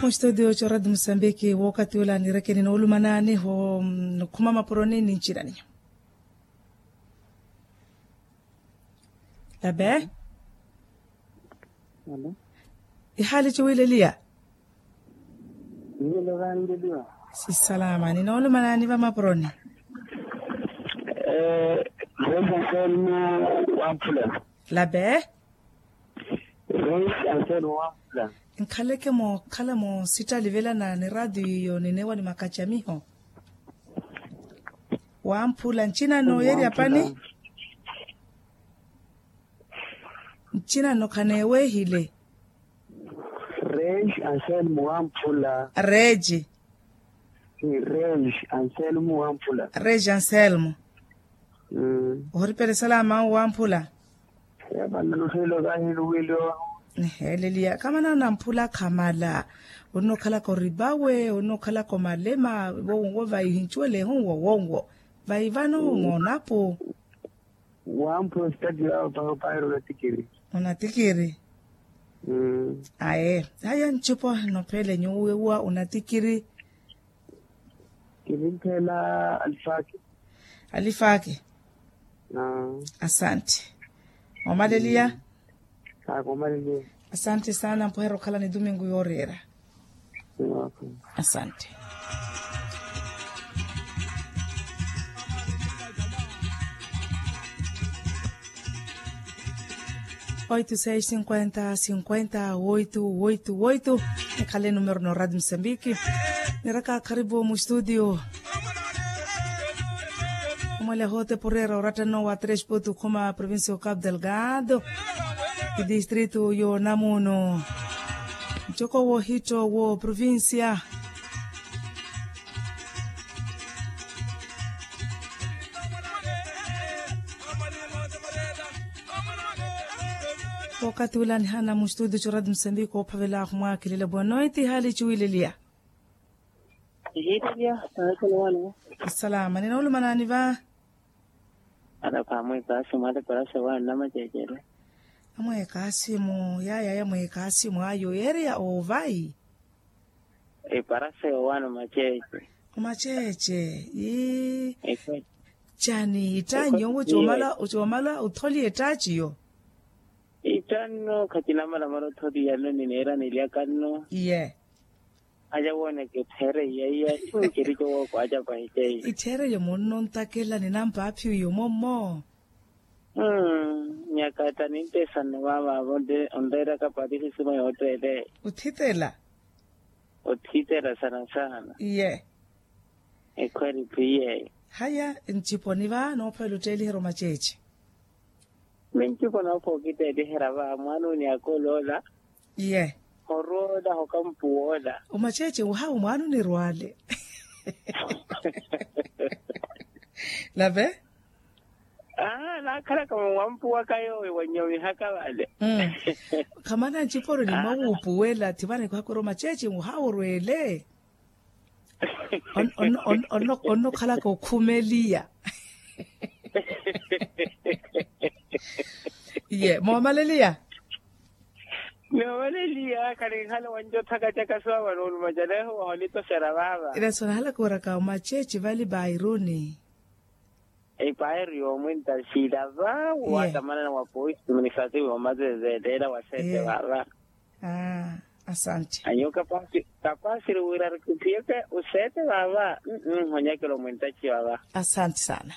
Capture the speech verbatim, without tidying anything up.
Mustutio corati musambiki wokati ula nirekeni noolumanaani ho. Khuma mapuroni ni ncinani. Labe. Ihali ciwileliya. Sisalama ninoolumanaani vamapuroni. Reis anselmo wamphula. Labe. Reis anselmo wamphula. Nkhaleke mookhala moosittalivela na niraatiyo ninewa ni makacamiho. Wamphula ncinano yeerya pani. Ncinano khaneewehile. Reis anselmo wamphula. Reis. Reis anselmo wamphula. Reis anselmo. Ohoripela esalama wamphula. Yapanna luthelo kahiluwilo. Niheeleliya kamana namphula khamala. Onnookhalaka oribawe onnookhalaka omalema. Wowonwo vaihincuwelehu wowonwo. Vaivano moonapo. Wamphula ositati yawo paho pairo natikiri. Onatikiri. Aye haya ncipo nophele nyuwo wewa unatikiri. Kivinthela alifaki. Alifaki. Asante. Omaleliya. Akomaleliya. Asante sana mpuhera okhala ni dumingu yoreera. Asante. Oito seis cinquenta cinquenta oito oito oito. Nikhale numero no radio mosambiki. Niraka karibu mu studio. Omweleho te purera orattano wa tres potu khuma provincia o cabo delgado. Idistrito yo namuno. Ncoko wohitto wo provincia. Wakati ula nihana mu studio corati musambiki ophavela khumwakilela boa noite hali ciwileliya. Salama ninoolumanani va. Alapha amwekasimu aleparasa wa nnamacecele. Amwekasimu yaya yamwekasimu ayo yeereya ovayi. Eparasa yowaana omaceece. Omaceece ii. Cani ittaci yowo ocomala otholiye ettaci yo. Ittanno khacinamalamala otholiya nno nineera nilyakanno. Iye. Aya wooneke etthereye iya inkerico wookwaaca pahi ceiye. Etthereye munnontakela ninampaaphiwiye omommo. Nyakata nintesanno maamaavo onreeraka pari sisima yootteele. Othitela. Othitela sana sana. Iye. Ekhweri phi yeeyo. Haya nciponi va noophavela otteeliherya omaceece. Minciponi oopha okitteeliherya va mwaana uni akooloola. Iye. Horwoola hokampuwoola. Omaceece ohawu mwaana onirwaale. Lave. Aa naakhalaka mwampuwaka yoowi wanyomihaka vale. Khamana nciponi nimwawuupuwela thivana ekwakwera omaceece ohawu orweele. Onnokhalaka okhumeliya. Iye moomaleliya. Noomaleliya khali nkhala wancothaka caka swava noolumaca neeho wahonitoxera vaava. Ila sonahalaka oraka omaceece vali bairuni. Epaeri yoomwinta siilava waatamanana wa poisi munisatiwi omazezeeleela wa seete vaava. Asante. Anyo kapasi kapasiri wira arikutthiyeke oseete vaava. Nhonyakela omwintaci vaava. Asante sana.